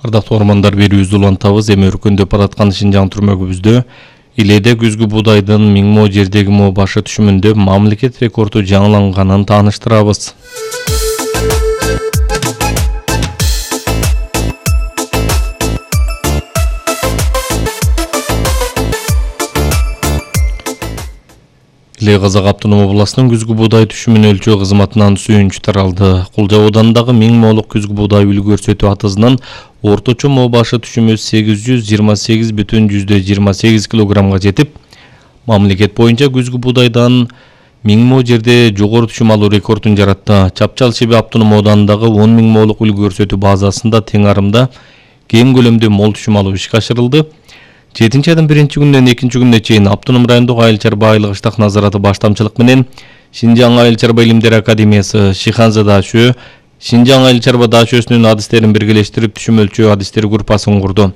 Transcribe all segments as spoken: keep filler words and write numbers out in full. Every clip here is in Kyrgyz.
Ардактуу ормандар берүүбүздү улантабыз. Эми өркүндөп бараткан Шинжаң түрмөгүбүздө Иледе күзгү буудайдын миң мо жердеги мо башы түшүмүндө мамлекет рекорду жаңыланганын тааныштырабыз. Иле Казак автоном областынын күзгү буудай түшүмүн өлчөө кызматынан сүйүнч таралды. Кулжа оданындагы миң молук күзгү буудай үлгү көрсөтүү атызынан орточо мо башы түшүмү сегиз жүз жыйырма сегиз бүтүн жүздө жыйырма сегиз килограммга жетип, мамлекет боюнча күзгү буудайдан миң мо жерде жогору түшүм алуу рекордун жаратты. Чапчал Шебе автоном оданындагы он миң молук үлгү көрсөтүү базасында тең арымда кең көлөмдө мол түшүм алуу ишке ашырылды. жетинчи айдын биринчи күнүнөн экинчи күнүнө чейин автоном райондук айыл чарба айыл кыштак назараты баштамчылык менен Шинжаң айыл чарба илимдер академиясы, Шиханза даашөө, Шинжаң айыл чарба даашөөсүнүн адистерин биргелештирип түшүм өлчөө адистер группасын курду.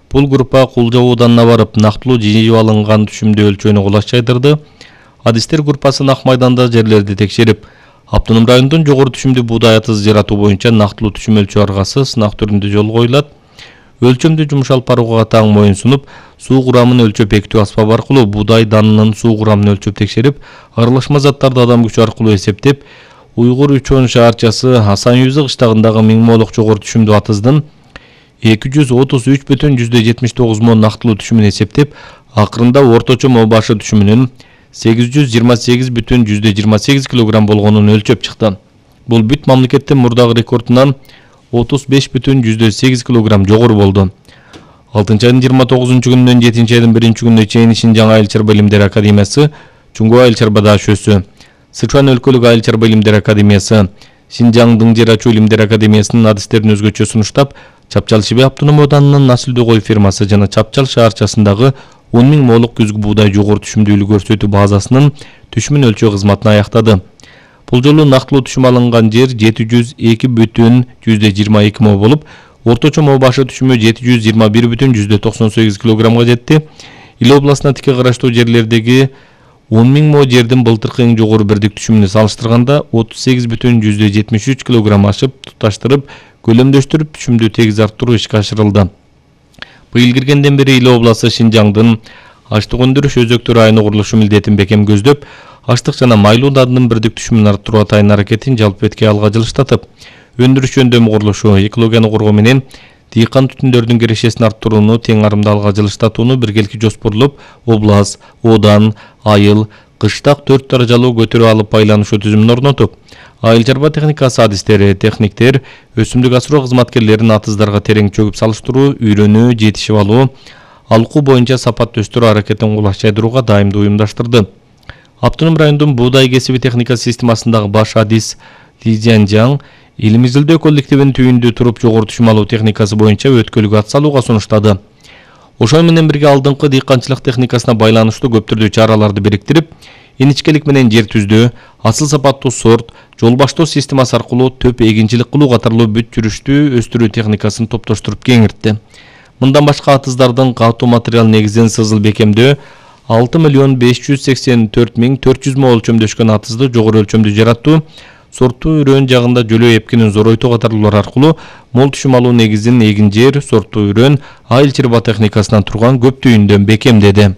Бул группа Кулжа оданына барып, нактылуу жыйып алынган түшүмдү өлчөөнү кулаш жайдырды. Адистер группасы Ак майданда жерлерди текшерип, автоном райондун жогору түшүмдүү буудай атыз жаратуу боюнча нактылуу түшүм өлчөө аргасы сынак түрүндө жолго коюлат. Өлчөмдү жумуш алып барууга таң моюн сунуп, суу курамын өлчөп бекитүү аспабы аркылуу буудай данынын суу курамын өлчөп текшерип, аралашма заттарды адам күчү аркылуу эсептеп, Уйгур үч он шаарчасы Асан Юзы кыштагындагы миң молук жогору түшүмдүү атыздын эки жүз отуз үч бүтүн жүздө жетимиш тогуз мо нактылуу түшүмүн эсептеп, акырында орточо мо башы түшүмүнүн сегиз жүз жыйырма сегиз бүтүн жүздө жыйырма сегиз килограмм болгонун өлчөп чыкты. Бул бүт мамлекеттин мурдагы рекордунан отуз беш бүтүн жүздө сегиз килограмм жогору болду. алтынчы айдын жыйырма тогузунчу күнүнөн жетинчи айдын биринчи күнүнө чейин Шинжаң айыл чарба илимдер академиясы, Чуңгу айыл чарба даашөөсү, Сычуан өлкөлүк айыл чарба илимдер академиясы, Шинжаң дың жер ачуу илимдер академиясынын адистерин өзгөчө сунуштап, Чапчал Шебе автоном оданынын Насылдуу кой фермасы жана Чапчал шаарчасындагы он миң молук күзгү буудай жогору түшүмдүү үлгү көрсөтүү базасынын түшүмүн өлчөө кызматын аяктады. Бул жолу нактылуу түшүм алынган жер жети жүз эки бүтүн жүздө жыйырма эки мо болуп, орточо мо башы түшүмү жети жүз жыйырма бир бүтүн жүздө токсон сегиз килограммга жетти. Иле областына тике караштуу жерлердеги он миң мо жердин былтыркы эң жогору бирдик түшүмүнө салыштырганда отуз сегиз бүтүн жүздө жетимиш үч килограмм ашып, туташтырып, көлөмдөштүрүп түшүмдү тегиз арттыруу ишке ашырылды. Быйыл киргенден бери Иле областы Шинжаңдын аштык өндүрүш өзөктөр айыны курулушу милдетин бекем көздөп, аштык жана майлуу дандын бирдик түшүмүн арттыруу атайын аракетин жалпы бетке алга жылыштатып, өндүрүш жөндөмү курулушу, экологияны коргоо менен дыйкан түтүндөрдүн кирешесин арттырууну тең арымда алга жылыштатууну биргеликти жоспорлоп, област, одан, айыл, кыштак төрт даражалуу көтөрүү алып байланышуу түзүмүн орнотуп, айыл чарба техникасы адистери, техниктер, өсүмдүк асыроо кызматкерлерин атыздарга терең чөгүп салыштыруу, үйрөнүү, жетишип алуу, алкуу боюнча сапат өстүрүү аракетин кулаш жайдырууга дайымдуу уюмдаштырды. Автоном райондун буудай кесиби техника системасындагы баш адис Ли Жан Илим изилдөө коллективинин түйүндө туруп жогору түшүм алуу техникасы боюнча өткөлгө ат салууга сунуштады. Ошол менен бирге алдыңкы дыйканчылык техникасына байланыштуу көп түрдүү чараларды бириктирип, иничкелик менен жер түздөө, асыл сапаттуу сорт, жол баштоо системасы аркылуу төп эгинчилик кылуу катарлуу бүт жүрүштүү өстүрүү техникасын топтоштуруп кеңиртти. Мындан башка атыздардын катуу материал негизинен сызыл бекемдөө алты миллион беш жүз сексен төрт миң төрт жүз мо өлчөмдөшкөн атызды жогору өлчөмдүү жараттуу, сорттуу үрөн жагында жөлөө эпкинин зоройтуу катарлуулар аркылуу мол түшүм алуу негизин эгин жер, сорттуу үрөн, айыл чарба техникасынан турган көп түйүндөн бекемдеди.